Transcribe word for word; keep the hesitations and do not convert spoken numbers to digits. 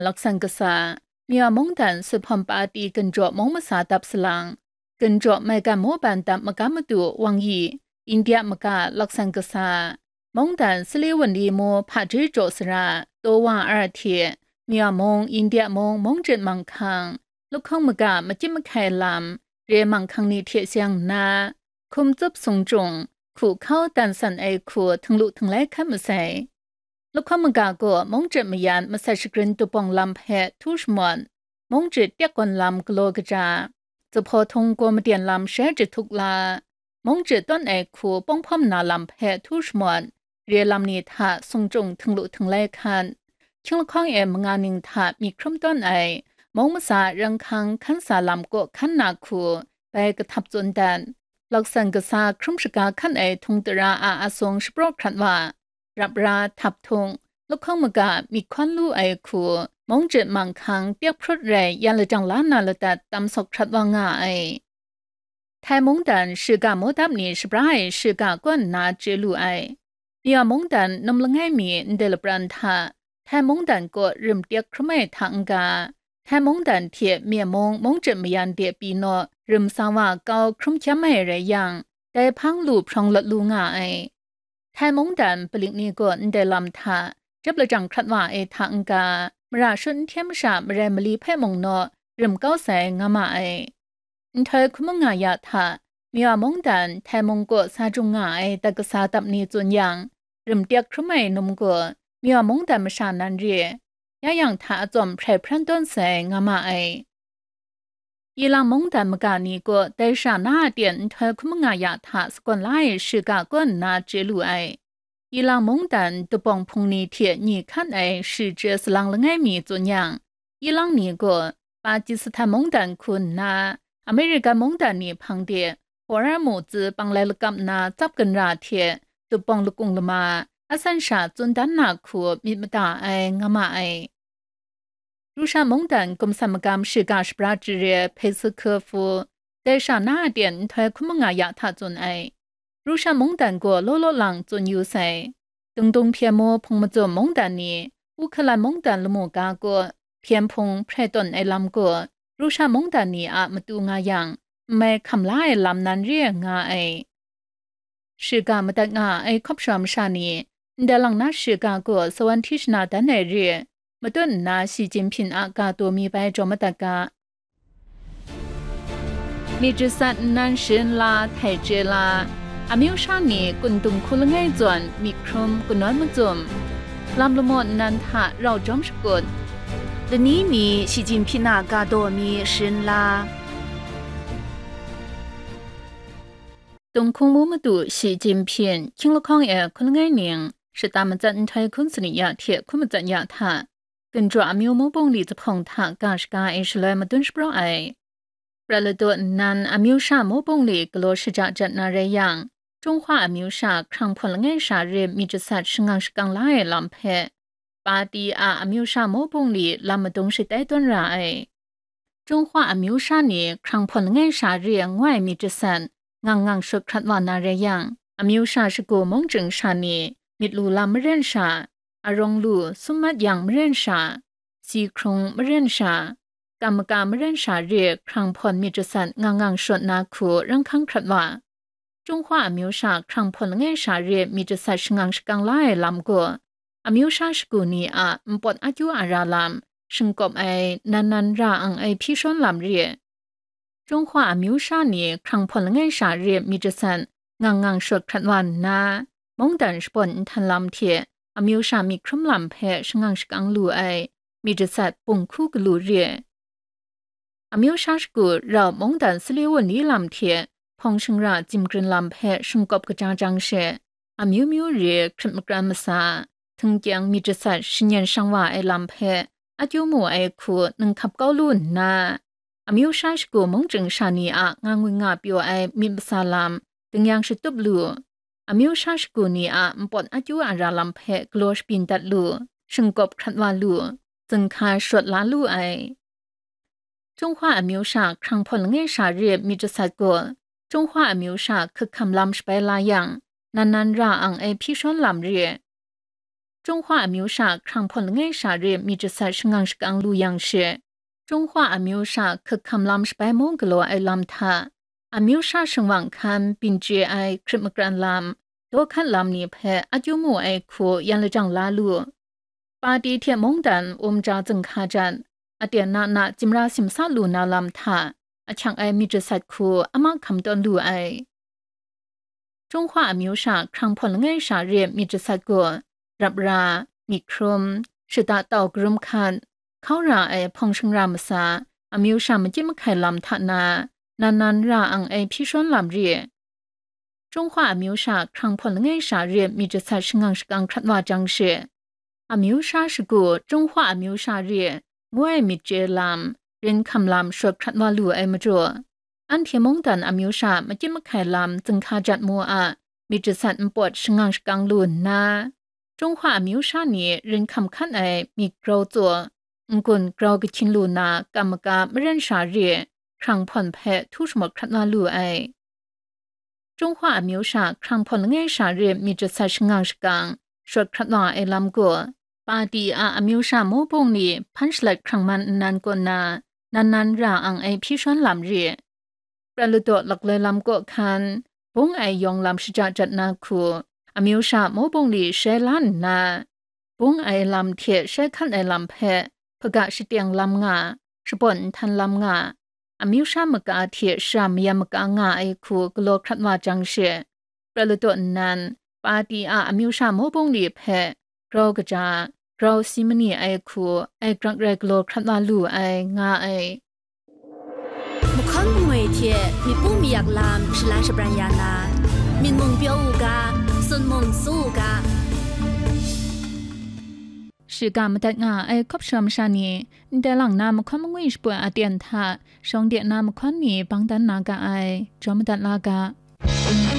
laksan kasa, Myaw mungdan Suphawm Pati ginjaw mung masa dap salang, ginjaw maigan mawban dap magam madu Wang Yi, India maga laksan kasa, mungdan Sali Wunli mu hpaji jaw sara, taw wa ar hte, Myaw mung, India mung, mung jit manghkang, lahkawng maga machyip mahkai lam, re manghkang ni hte seng nna, hkum tsup sung jung, hku hkau dan san ai hku htinglu htinglai hkan masai. Lahkawng maga gaw mung jit mayan masat shagrin dubawng lam hpe htu shamawt, mung jit tyak gawn lam galaw kaja, zuphpawt htung gaw maden lam shai jahtuk la, mung jit tawn ai hku pawng hpawm na lam hpe htu shamawt, re lam ni hta sung jung htinglu htinglai hkan, hkying lahkawng e manga ning hta myit hkrum tawn ai, mung masa ranghkang hkan sa lam kaw hkan na hku bai kahtap tsun dat, laksan kasa hkrum shaga hkan ai htung tara a asung shapraw hkrat wa, rap ra, htap htung, lahkawng maga myit hkawn lu ai hku, mung jit manghkang tyak hprut rai yan lajang la na ladat tam sawk hkrat wa nga ai. Htai mungdan shiga mudap ni shabra ai shiga kaw nna chye lu ai. Myaw mungdan num langai mi ndai lapran hta, Htai mungdan kaw rim tyak hkrum ai hta n-ga, Htai mungdan hte Myaw mung mung jit mayan de pyi naw rim sa wa kau hkrum hkyam ai rai yang, dai hpang lu hprawng lawt lu nga ai. Htai mungdan palik ni gaw ndai lam hta, jep lajang hkrat wa ai hta n-ga, mara shut n hte masha marai mali hpe mung naw rim kau sai nga ma ai. Nhtoi hkum anga ya hta, Myaw mungdan Htai mung kaw sa jung nga ai dat kasa dap ni tsun yang, rim tyak hkrum ai num gaw, Myaw mungdan masha nan re, ya yang hta atsawm hprai hpran tawn sai nga ma ai. Ilang mungdan maga ni gaw dai sha na a ten nhtoi hkum anga ya hta sagawn la ai shiga kaw nna chye lu ai. Ilang mungdan dubawng hpung ni hte nyi hkan ai shi chye salang langai mi tsun yang, ilang ni gaw Pakistan mungdan hku nna, Amerika mungdan ni hpang de Hormuz tsi panglai lakap na tsap ginra hte dubawng lakung lama asan sha tsun dan na hku myit mada ai nga ma ai. Rusha mungdan gumsan magam shiga shabra jare hpe su hku hpu, dai sha na a ten nhtoi hkum anga ya hta tsun ai. Rusha mungdan gaw law law lang tsun yu sai. Dungdung hpyen mu hpung mazum mungdan ni, Uhkalan mungdan lamu ga gaw, hpyen hpung hprai tawn ai lam gaw, Rusha mungdan ni a matu nga yang, n mai hkam la ai lam nan re ai nga ai. Shiga madat nga ai hkawp shawa masha ni, ndai lang na shiga gaw sawan hti shana dan ai re, matut nna Shi Jinping a ga taw mi bai jaw madat ga. Myit jasat nnan sharin la, htai chye la, amyu sha ni kun dung hku langai zawn myit hkrum kanawn mazum, lam lamaw nnan hta rau jawm shakut, lani ni Shi Jinping a ga taw mi sharin la. Tung hkung mu madu Shi Jinping, hkying lahkawng e hkun langai ning, shata matsat nhtoi hkun sanit ya hte hkun matsat ya hta, ginjaw amyu mu bungli zuphpawng hta ga shaga e shaloi madun shapraw ai. Prat ladaw nnan amyu sha mu bungli galaw shaja jat na rai yang, Chunghwa amyu sha hkrang hpawn langai sha re myit jasat shangang shakang la ai lam hpe, Pati a amyu sha mu bungli lam madung shatai tawn ra ai. Chunghwa amyu sha ni hkrang hpawn langai sha re ngoi myit jasat ngang ngang shut hkrat wa na rai yang, amyu sha shagu mung chying sha ni myit lu lam maren sha, arawng lu sum mat yang maren sha, si hkrung maren sha, kam maka maren sha re hkrang hpawn myit jasat ngang ngang shut na hku ranghkang hkrat wa. Chunghwa amyu sha hkrang hpawn langai sha re myit jasat shangang shakang la ai lam gaw, amyu sha shagu ni a npawt akyu ara lam, shingkawp ai, nan nan ra ang ai hpyi shawn lam re. Chunghwa amyu sha ni hkrang hpawn langai sha re myit jasat ngang ngang shut hkrat wa nna, mungdan shabawn nhtan lam hte amyu sha myit hkrum lam hpe shangang shakang lu ai myit jasat bung hku galu re. Amyu sha shagu rau mungdan sali wunli lam hte hpawng shingra zim grin lam hpe shingkawp kaja jang she, amyu myu re hkrit makran masa, htingkyang myit jasat shanyen shang wa ai lam hpe akyu mu ai hku ninghkap kau lu nna, amyu sha shagu mung chying sha ni a nga ngwi nga pyaw ai myit masa lam dingyang shatup lu, amyu sha shagu ni a npawt akyu ara lam hpe galaw shabyin dat lu, shingkawp hkrat wa lu, zinghka shawt la lu ai. Chunghwa amyu sha hkrang hpawn langai sha re myit jasat gaw, Chunghwa amyu sha hkak hkam lam shabai la yang, nan nan ra ang ai hpyi shawn lam re. Chyunghwa amyu sha hkrang hpawn langai sha re myit jasat shangang shakang lu yang she, Chyunghwa amyu sha hkak hkam lam shabai mung galaw ai lam hta, amyu sha shingwang hkan byin chye ai hkrit makran lam, dawhkat lam ni hpe a kyu mu ai hku yan lajang la lu. Pati hte mungdan um ja zing hka jan, aten na na tsimra simsa lu na lam hta, ahkyang ai myit jasat hku a mahkam tawn lu ai. Chyunghwa amyu sha hkrang hpawn langai sha re myit jasat gaw, rap ra, myit hkrum, shata tau karum hkat, hkau ra ai hpawng shangra masa, amyu sha makyit mahkai lam hta na, nan nan ra ang ai hpyi shawn lam re. Chyunghwa amyu sha hkrang hpawn langai sha re myit jasat shangang shakang hkrat wa jang she, amyu sha shagu Chyunghwa amyu sha re ngu ai myit chye lam, rin hkam lam shawt hkrat wa lu ai majaw, anhte mungdan amyu sha makyit mahkai lam zing hka jat mu a myit jasat npawt shangang shakang lu nna, Chyunghwa amyu sha ni rin hkam hkan ai myit grau tsaw, n-gun grau kahkyin lu na kam maka maren sha re hkrang hpawn hpe htu shamawt hkrat wa lu ai. Chyunghwa amyu sha hkrang hpawn langai sha re myit jasat shangang shakang shawt hkrat wa ai lam gaw, Pati a amyu sha mawbung ni hpan shalat hkrang man nnan kaw na, nan nan ra ang ai hpyi shawn lam re. Prat ladaw lakloi lam kaw hkan, bung ai yawng lam shaja jat na hku, amyu sha mawbung ni shai la nna, bung ai lam hte shai hkan ai lam hpe hpaga shateng lam nga, shabawn nhtan lam nga, amyu sha maka hte shara mayam maka nga ai hku galaw hkrat wa jang she, prat ladaw nnan, Pati a amyu sha mawbung ni hpe grau kaja, grau si mani ai hku ai grak rai galaw hkrat wa lu ai, nga ai. Mahkawn mangwi hte myit pu mayak lam shalan shabran ya na, myit mung pyaw u ga, sun mung su u ga. Shiga madat nga ai hkawp shawm sha ni, ndai lang na mahkawn mangwi shapoi aten hta, shawng de na mahkawn ni bang dan na ga ai, jaw madat la ga.